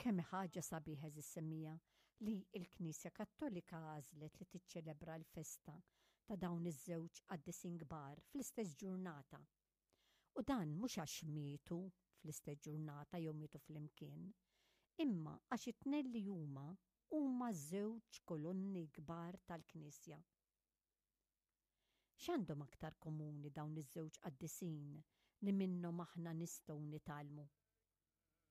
Kemm hi ħaġa sabiħa għeżież semmiegħa li l-Knisja Kattolika għażlet li tiċċelebra l-festa ta' dawn iż-żewġ qaddisin kbar fl-istess ġurnata. U dan mhux għax mietu fl-istess ġurnata jew mietu flimkien, imma għax it-tnejn li huma huma żewġ kolonni kbar tal-Knisja. X'għandhom aktar komuni dawn iż-żewġ qaddisin li minnhom aħna nistgħu nitgħallmu?